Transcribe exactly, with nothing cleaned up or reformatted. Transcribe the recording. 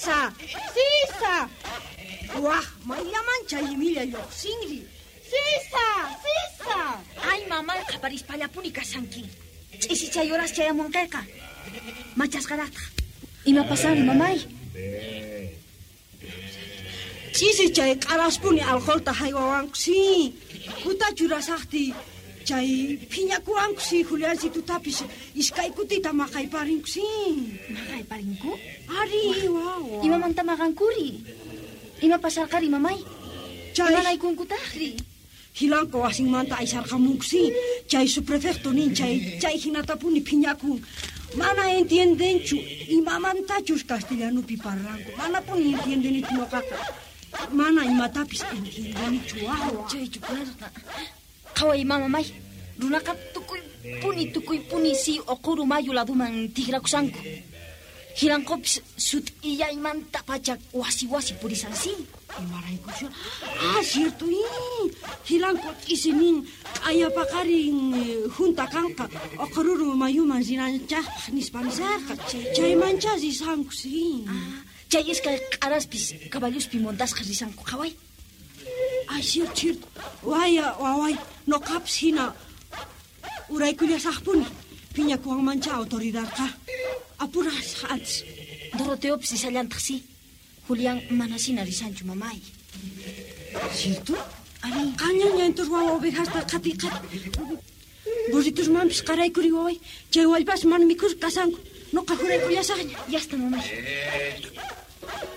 Sisa! Sisa! Waj, mayllaman chay imilla lluqsinri. Sisa! Sisa! Ay, mamay, qhaparispallapuni kashanki. Ch'isi chay horas chayamunqayqa. Machasqaraqtaq. Ima pasanri, mamay? Ch'isi chay q'araspuni alcoholta haywawanku, sí. Kuta churasaqti chay phiñakuwanku, sí, Juliancitutapis iskay kutita maqayparinku, sí. Maqayparinku? Ari, wawa. Imamanta maqankuri? Ima pasarqari, mamay? Chay Imanaykunkutaqri? Jilanko wasinmanta aysarqamunku, sí. Chay subprefecto nin chay chay hinatapuni phiñakun. Mana entiendenchu imamantachus castellanupi parlanku. Manapuni entiendenichu noqaqa. Mana imatapis entiendenichu, wawa. Chaychu karqa. Qhaway, mamamay. Runaqa tukuypuni tukuypuni si Oquru mayu laduman tikrakushanku. Jilanqopis sut'illaymanta pacha wasi wasi purisan, sí. Imaraykuchu? Ah, cierto, ii. Jilanko ch'isi nin q'ayapaqarin junta kanqa Oqururu mayuman rinanchaqpaq nispa nisarqa. Chaymancha risanku, sí. Ah, chay iskay q'araspis caballuspi montasqa risanku, qhaway. Ay, cierto, cierto. Waya, waway, noqapis hina uraykullasaqpuni. Phiñakuwanmancha autoridadqa. Apurasaq antes. Doroteopis risallantaq, sí. Julián mana shina risanchu, mamay. Cierto? Ari. Qanllaña entos wawa ovejasta qhati qhati. Burritusmanpis qaraykuri waway. Chay wallpas mana mikhusqa kasanku. Noqa juraykullasaqña. Ya está, mamay.